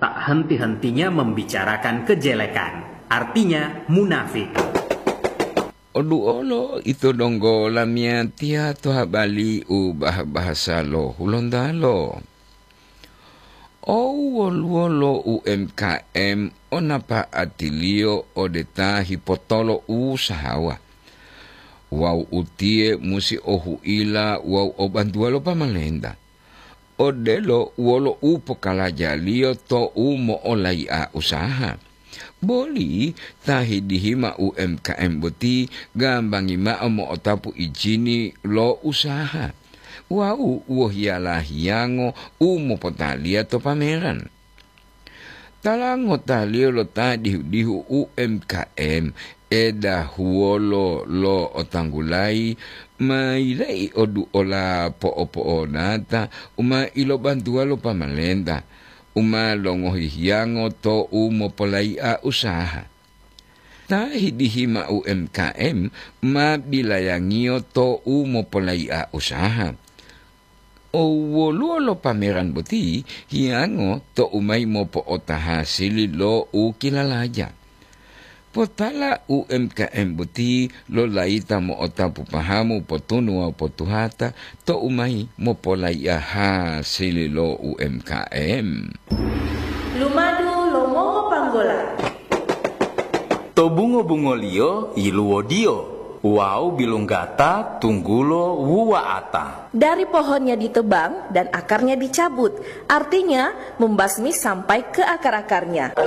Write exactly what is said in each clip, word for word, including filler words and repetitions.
Tak henti-hentinya membicarakan kejelekan, artinya munafik. Oduolo ito donggo lamiyatiya to habali u bah-bahasa lo Hulontalo. Ou woluwo lo U M K M o napa'atiliyo ode ta hipotolo usahawa. Wawu utiye musi o huila wawu o bantuwa lo pamalenta. Odelo wolo u pokalajaliyo to u mo'olai'a usaha. Boli ta hidihima U M K M boti gambangi ma'o mo'otapu ijini lo usaha wawu wohiyala hiyango u mopotaliya to pameran. Tala ngotaliyo lo ta dihu-dihu U M K M, edahuwolo lo otanggulayi, ma yila'i oduola po'opo'onata u ma ilobantuwa lo pamalenta, u ma longohi hiyango to u mopolai'a usaha. Ta hidihima U M K M ma bilayangiyo to u mopolai'a usaha. O woluwo lo pameran boti hiyango to u mayi mopo'ota hasili lo u kilalaja. Potala U M K M boti lo layita mo'otapu pahamu potunu wawu potuhata to u mayi mopolai'a hasili lo U M K M. Lumadu lo mongopanggola. To bungo-bungoliyo yiluwodiyo wawu bilunggata tunggulo wuwa'ata. Dari pohonnya ditebang dan akarnya dicabut, artinya membasmi sampai ke akar-akarnya.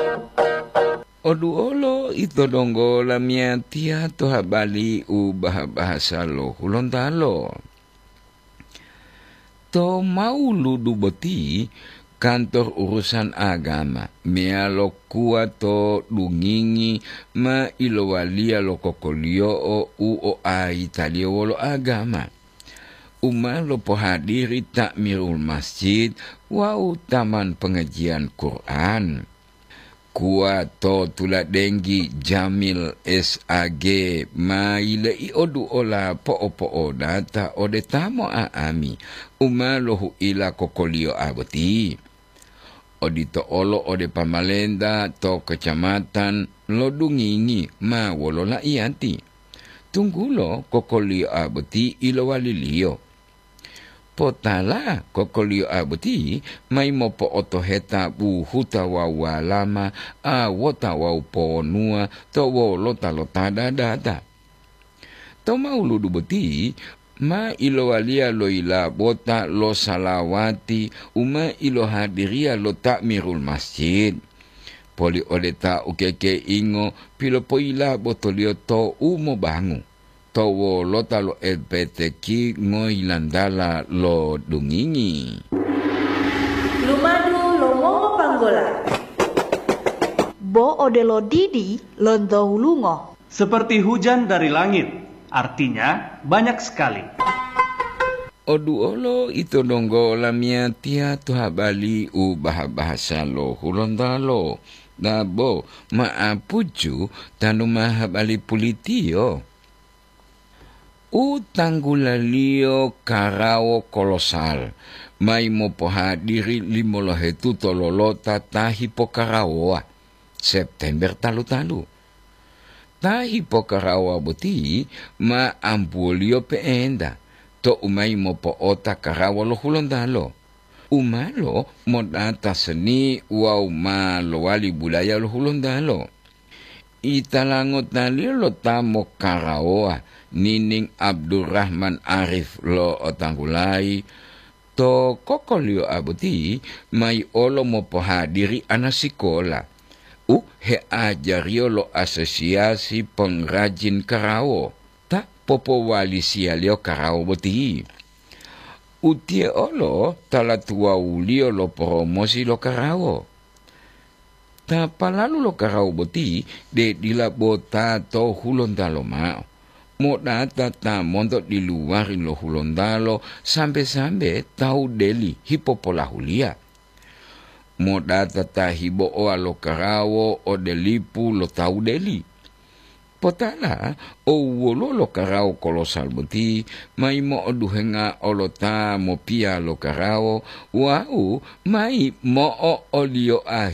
Oduolo ito donggo lamiyatiya to habali u bah-bahasa lo Hulontalo. To Mauludu boti, kantor urusan agama meyalo kuwa to Dungingi ma ilowaliya lo kokoliyo'o u oayitaliyo wolo agama, u ma lopohadiri ta'mirul masjid wawu taman pengajian Quran. Kuwa to tuladenggi Jamil S A G ma yile'i oduola po'opo'odata ode ta mo'a'ami u ma lohu'ila kokoliyo'a boti. Odito olo ode pamalenta to kecamatan lo Dungingi ma wolo la'iyati, tunggulo kokoliyo'a boti ilowaliliyo. Potala kokoliyo'a boti mayi mopo'otoheta buhuta wawu walama, awota wawu ponuwa to wolota lo ta dadata. To Mauludu boti ma ilowaliya lo yilabota lo salawati u ma ilohadiriya lo ta'mirul masjid. Poli ode ta ukekeingo pilopoyilabotoliyo to u mobangu to wolota lo L P T Q ngoyilantala lo Dungingi. Lumadu lo mongopanggola. Bo odelo didi lonto hulungo. Seperti hujan dari langit, artinya banyak sekali. Oduolo ito donggo lamiyatiya to habali u bah-bahasa lo Hulontalo, dabo ma'apucu tanu ma habali pulitiyo. U tanggulaliyo karawo kolosal mayi mopohadiri limolohetuto lolota ta hipokarawowa September talu-talu. Ta hipokarawowa boti ma ambuwoliyo pe'enta to u mayi mopo'ota karawo lo Hulontalo, u malo modata seni wawu ma lowali budaya lo Hulontalo. Italangotalilo lo ta mokarawowa, Nining Abdurrahman Arif lo Otanggulayi, to kokoliyo'a boti mayi olo mopohadiri ana sikola u heajariyo lo Asosiasi Pengrajin Karawo ta popowalisiyaliyo karawo boti. Utiye olo tala tuwawuliyo lo poromosi lo karawo. Ta palalu lo karawo boti de dila bo ta to Hulontalo mao, modata ta monto diluwari lo Hulontalo sambe-sambe tawu deli hipopolahuliya. Modata ta hibo'owa lo karawo ode lipu lo tawu deli. Potala, o woluwo lo karawo kolosal boti, mayi mo'oduhenga olo ta mopiya lo karawo wawu mayi mo'o'oliyoa